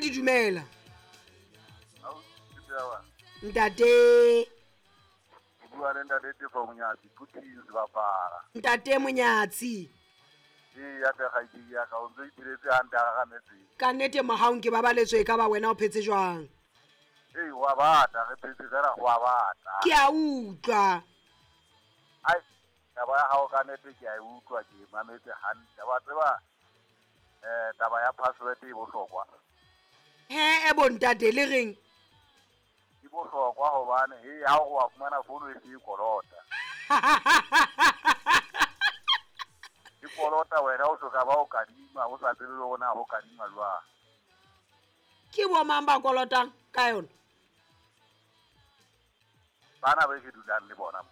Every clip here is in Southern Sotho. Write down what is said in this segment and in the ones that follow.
Mamedi dumela. Ntate. Bua le ntate Tefo Monyatsi, Putin sebapala. Ntate Monyatsi. Ee, ya tle kgaitsedi ya ka, o ntse o ipheletse hantle a gagametseng. Ka nnete mohaong ke babaletswe e ka ba wena o phetse jwang? Ee, ho a bata, re phetse fela ho a bata. Ke a utlwa. Ai, taba ya hao ka nnete ke a e utlwa, ke e mametse hantle. Wa tseba, taba ya password e bohlokwa. He, e bontate le reng? Di bohlokwa hobane he ha o wa fumana fono e se e kolota. E kolota wena o soka ba o kadima, o sa tsebe le hore na ho kadima jwang. Ke bo mang ba kolotang ka yona? Bana be ke dulang le bona mo.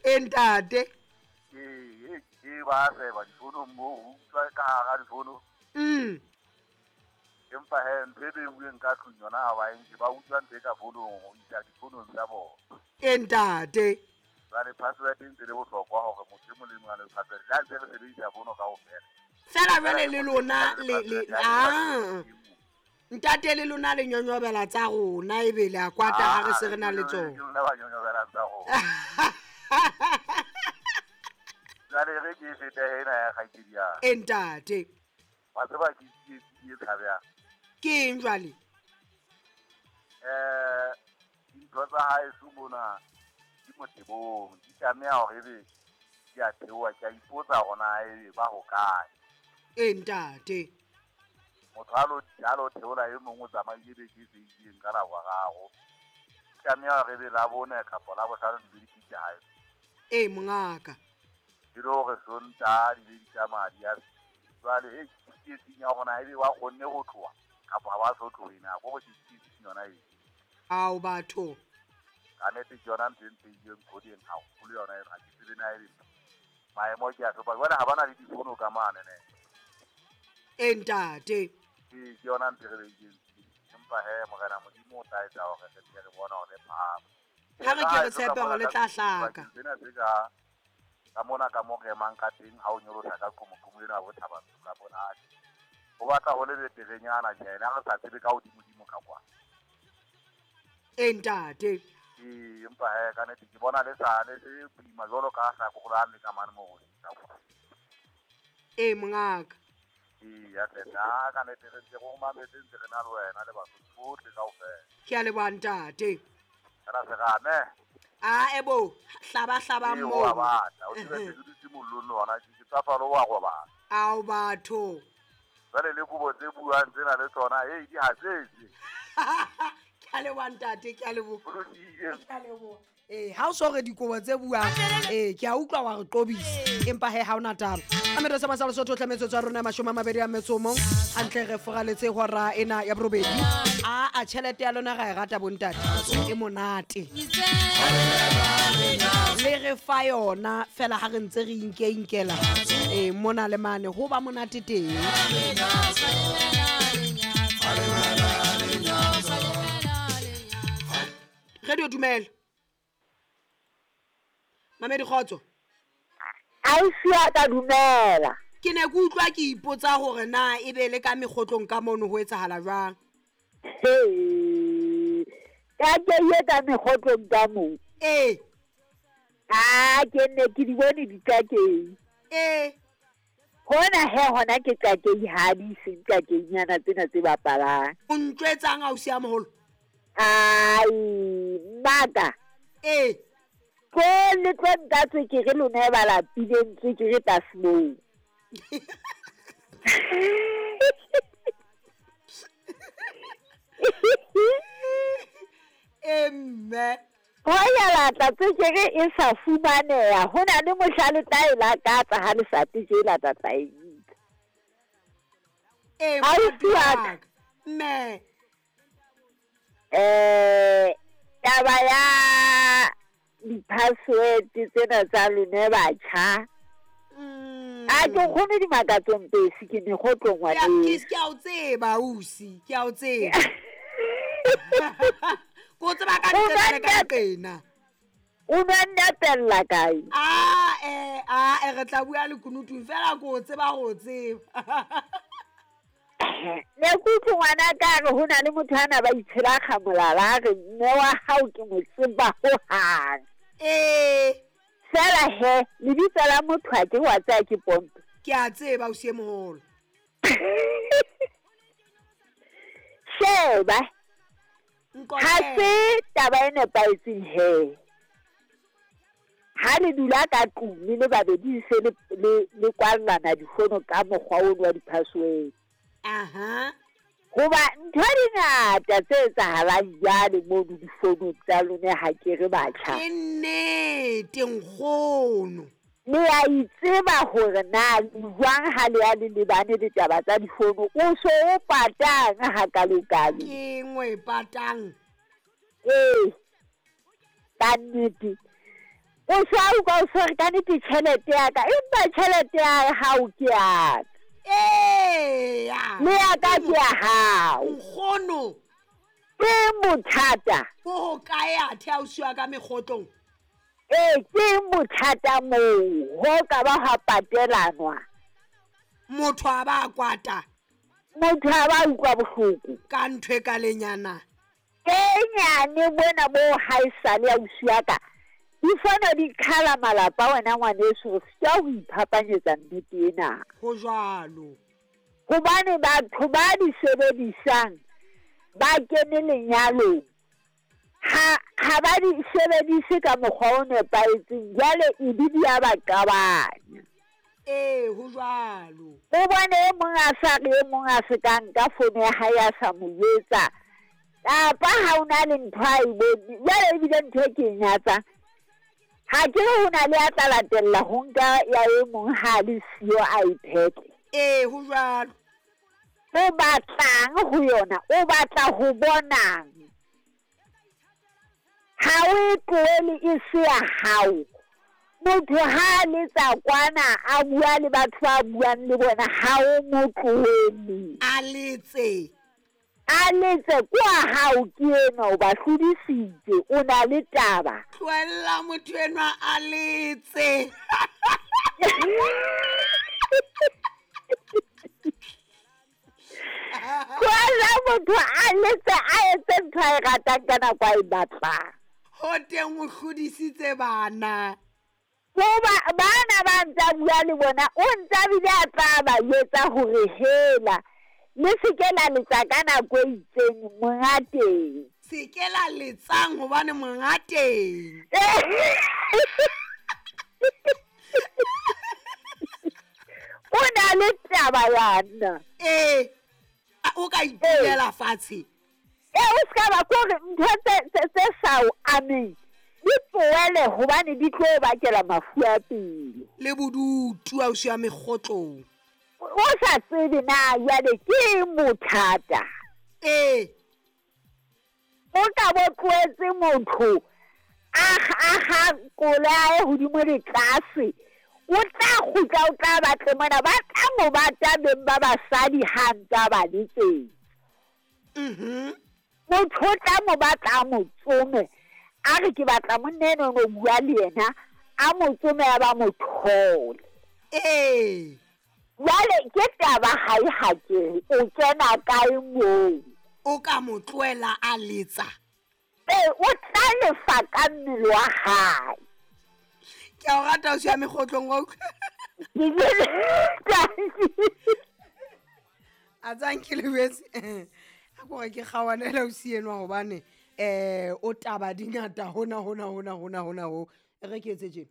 E ntate. Ee, e ba seba difonong moo, o utlwa ka hara difono. Empa he ntho e beuweng ka tlung yona ha ba e nke, ba utswa ntho e ka fonong ho isa difonong tsa bona. E ntate. Jwale password e ntse le bohlokwa hore motho e mong le mong a le password. Le ha ntse re sebedisa fono kaofela. Fela jwale le lona le le ah. Ntate le lona le nyonyobela tsa rona ebe le a kwata ha re se re na le tsona. Ke lona ba nyonyobela tsa rona. Jwale re ke fete ena ya kgaitsedi ya. E ntate. Wa tseba ke tsietsi e tshabehang. Ke eng jwale? Dintho tsa haeso mona di motebong, di tlameha hore ebe di a theoha. Ke a ipotsa hore na ebe ba hokae. E ntate. Motho a lo theola e mong o tsamaile beke e fetileng ka Laboraro. Di tlameha hore ebe Labone kapa Labohlano di be di fihle hae. E mongaka. E le hore Sontaha di be di tsamaya di ya jwale e tsietsing ya hore na ebe ba kgonne ho tloha kapa ha ba so tlohe na, ko ke tsietsing yona e. Ao batho. Ka nnete ke yona ntho e mpeileng kgoding haholo yona eno, ha ke tsebe na ebe maemo ke a hlopa. Jwale ha ba na le difono ka mane ne. E ntate. Ee, ke yona ntho e re beileng tsietsing. Empa he Morena Modimo o tla etsa hore re tle re bone hore le phahame. Ha re ke re tshepe hore le tla hlaka. Sena se ka ka mona ka mo re emang ka teng ha o nyolosa ka qomoqomo ena bo Thaba Ntsho ka bona ho batla ho le beterenyana tjena re sa tsebe ka hodimodimo ka kwa. E ntate. Ee, empa he ka nnete ke bona le sa le se boima jwalo ka hlakolang le ka mane mo go ka kwa. E mongaka. Ee, ya tle nna ka nnete re ntse re o mametse ntse re na le wena le batho bohle kaofela. Ke a leboha ntate. Fela serame. A ebo hlaba hlaba Ee, mo. wa batla o tsebe se dutse mollong le hona ke tsafalo wa robala. Ao batho. Jwale le kobo tse buang tsena le tsona, hei di hatsetse. Ke a leboha ntate, ke a leboha. Ho lokile. Ke a leboha. Ee, ha o so re dikobo tse buang, ee, ke a utlwa wa re qobisa, empa he ha ona taba. A metso sa masala Sotho tle metsotso ya rona 21, hantle re foraletse hora ena ya borobedi. A tjhelete ya lona ra e rata bontate, e monate. Le re fa yona fela ha re ntse re inke inkela mona le mane ho ba monate teng. Radio dumela. Mamedi kgotso. Ausi wa ka dumela. Ke ne ke utlwa ke ipotsa hore na ebe le ka mekgotlong ka mono ho etsahala jwang. He. Ka ke ye ka mekgotlong ka mo. Ee. A ke ne ke di bone dikakeng. Ee. Hona he hona ke kakeng ha di seng kakeng nyana tsena tse bapalang. O ntjwetsang ausi ya moholo? Ai, mmaka. Ee. Ko le tlo nka tswekere lona e ba lapileng tswekere tlase moo. E mme. Ho ya latla tswekere e sa fumaneha, ho na le mohla le tla e lakatsa ha le sa tje la tla tla e nka. E Ausi wa ka. Mme. Taba ya di-password tsena tsa lona batjha. A ke kgone dimakatsong pesi ke mekgotlong wa teng. Ke a o tseba ausi, ke a o tseba. Ko tseba ka nqena le ka nqena. O nwa nnapella kae? A re tla bua lekunutung fela ko o tseba go tseba. Ehe, ne ke utlwe ngwana ka re ho na le motho a na ba itshela molala a re mme wa hao ke mo tseba hohang. Ee. Fela he, lebitso la motho a ke wa tsaya ke pompe. Ke a tseba ausi e moholo. Sheba, ha se taba e nepahetseng he. Ha le dula ka tlung le le babedi se le kwallana difono ka mokgwa ono wa di-password. Aha. Hoba ntho di ngata tse etsahalang jwale mono difonong tsa lona ha ke re batjha. Ke nnete nkgono. Le a itseba hore na jwang ha le ya le lebane le taba tsa difono, o so o patang hakalokalo. Ke engwe e patang. Ee, ka nnete. O so a utlwa o so re ka nnete tjhelete ya ka, empa tjhelete ya hao ke ya ka. Eya. Le ya ka ke ya hao. Nkgono. Ke bothata. Bo hokae athe ausi wa ka mekgotlong? Ee, ke bothata moo, ho ka ba hwa patelanwa. Motho a ba kwata. Motho a ba utlwa bohloko. Ka ntho e ka lenyana. E nyane bona bo haesale ausi wa ka. Difono di qhala malapa wena ngwaneso, re sitwa ho iphapanyetsa nnete ena. Ho jwalo. Hobane batho ba di sebedisang ba kene lenyalong, ha ba di sebedise ka mokgwa o nepahetseng, jwale e be di a ba qabanya. Ee, ho jwalo. O bone e mong a sa re, e mong a se ka nka fono ya hae a sa mo jwetsa. Kapa ha o na le ntho a e bone, jwale ebile ntho e ke e nyatsang. Ha ke re ho na le a tla latella ho nka ya e mong ha le siyo a e phetle. Ee, ho jwalo. O batlang ho yona, o batla ho bonang. Ha o e tlohele e se ya hao. Motho ha letsa kwana a bua le batho ba buang le bona, ha o mo tlohele. A letse. A letse kwa hao ke enwa, o ba hlodisitse, o na le taba. Tlohella motho enwa a letse. Tlohella motho a letse, a etse ntho a e ratang ka nako a e batlang. Ho teng o hlodisitse bana. Hoba bana ba ntsa bua le bona, o ntsa bile a tla ba jwetsa hore hela le se ke la letsa ka nako e itseng monga teng. Se ke la letsang hobane monga teng. O na le taba yana. Ee, o ka itulela fatshe. Ee, o ska ba kore ntho tse sa o ameng di tlohele hobane di tlo bakela mafu a pelo. Le bodutu ausi wa mekgotlong. O sa tsebe na jwale ke eng bothata. Ee. O ka bo tlohetse motho a ga koloi hodimo le tlase, o tla kgutla o tla batle mona, ba tla mo bata beng ba basadi ha ntsa ba le teng. Motho o tla mo batla a mo tsome, a re ke batla monna enwa o bua le yena, a mo tsome a ba mo thole. Ee. Jwale ke taba ha e hakere, o kena kae moo? O ka mo tlohela a letsa. Ee, o tla lefa ka mmele wa hae. Ke a o rata ausi ya mekgotlong wa utlwa. A tsang ke lebetse. A kore ke kgaohanela ausi enwa hobane o taba di ngata hona hona hona hona hona ho. Re ke etse tjena.